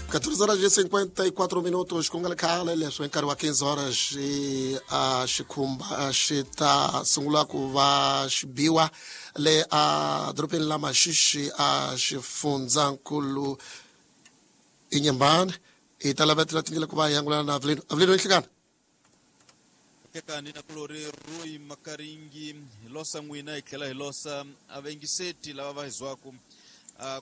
14 horas e 54 minutos ku nga ri khale leswi hi nkarhi wa 15 horas a xikhumba xi ta sungula ku va xi biwa le a dorobeni la Maxixi a xifundzankulu Inhambane. Hi ta lavetela tindlela ku va hi angulana na Avelino. Avelino, inhlekani. Kekani na kulori Roy Makaringi, hi losa n'wina hi tlhela hi losa avengiseti lava va hi zwaku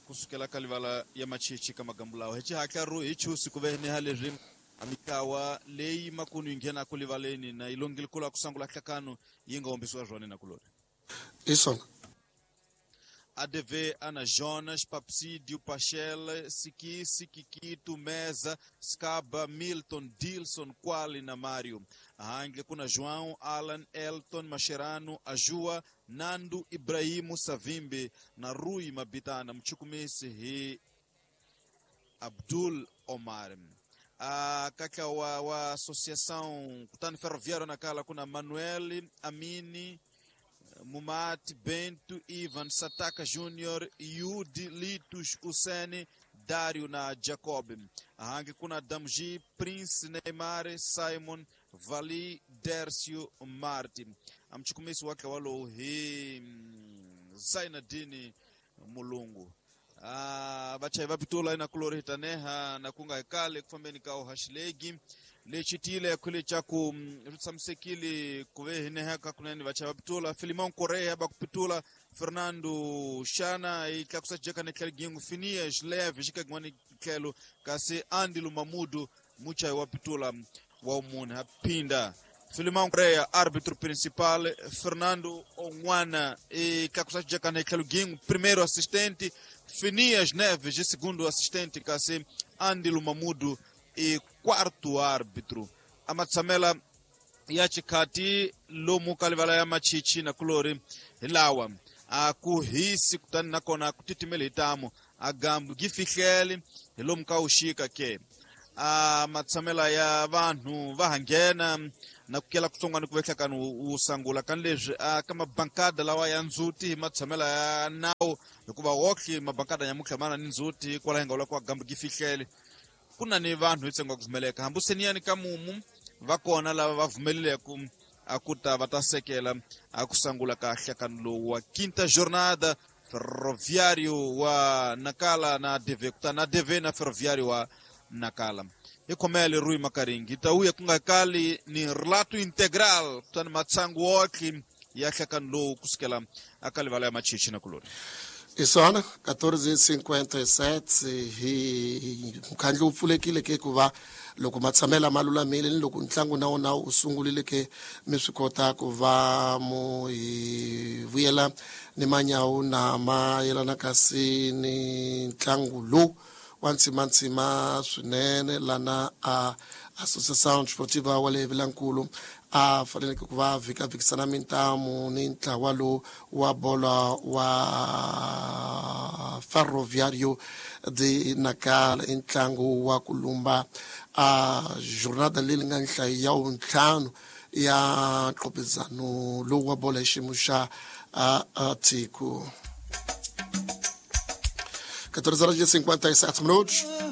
kusukela ka livala ya Machichi ka magambu lawa hi xihatla ro hi chusi ku ve ni ha leswi a mitlawa leyi makunu yi nghenaku livaleni na yi longile kula ku sangula hlakano yi nga hombisiwa zwona na kulori. Hi swona. ADV Ana Jonas, Papsídio, Pachel, Sikisi, Kikito, Mesa, Scaba, Milton, Dilson, Quali na Mário. Handle kuna João, Alan, Elton, Mascherano, Ajua, Nando, Ibrahimo, Savimbi na Rui Mabitana. Mchukumisi hi Abdul Omar. A kaka wa Associação Kutani Ferroviário Nacala kuna Manuel, Amini, Mumati, Bento, Ivan, Sataka Júnior, Yudi, Litos, Usene, Dário na Jacob. Hangi kuna Damji, Prince, Neymar, Simon, Vali, Dércio, Martin. Amchukumisi wake walo hi Zainadini Mulungu. Vachai vapitula ina kulori hitaneha na kunga hekale kufambeni kao hashilegi lechitile khwile chaku ritsamsekile kuve hineha kakunene vachai vapitula Filimão Correia bakupitula Fernando Shana itlakusa jeka ne gingu Finias Leve xikagwani tlhelo kasi Andilo Mamudu muchai wapitula wa umunhu hapinda Filimão Correia, árbitro principal, Fernando Onguana e Kakusa Jekane gingu primeiro assistente, Finias Neves, segundo assistente, kasi Andilo Mamudu e quarto árbitro. Amatsamela ya chikati lomu kalivala ya Machichi na kulori hilawa akuhisi kutani nakona kutitimela hitamu agambu gifihlele hilomu kaushika ke a matshamela ya vanhu va hanghena na ku kela kutsongwana ku vehlakani wu sangula kani leswi a ka mabankada lawa ya ndzhuti hi matshamela ya nawu hikuva wohle mabankada nyamutlha mana ni ndzhuti kwala hi nga vula ku agambu gifihlele ku na ni vanhu hi ntsengo wa ku pfumeleka hambi seniyani ka mumu va kona lava va pfumeleleke a ku ta va ta sekela a ku sangula ka hlakani lowu wa quinta jornada Ferroviário wa Nacala na ADV kutani ADV na Ferroviário wa Nacala. Hi khomele Rui Makaringi ta uya ku nga kali ni relato integral kutani matsangu wohle ya hlakani lowu kusukela aka livala ya Machichi na kulori. Isona 14:57 hi mukhandlu wu pfulekile ke ku va loko matshamela ma lulamile ni loko ntlangu na wona wu sungurile ke mi swi kota ku va mu hi vuyela ni manyawu na ma yelana kasi ni ntlangu lowu wa ntsimantsima swinene lana a Associação Desportiva wa le Vilankulu a faneleke ku va vhikavhikisana mintamu ni ntlawa lowu wa bolo wa Ferroviário de Nacala i ntlangu wa ku lumba a jornada leyi nga nhlayo ya wuntlhanu ya nqopizano lowu wa bolo hi xiyimo xa tiko. 14 horas e 57 minutos.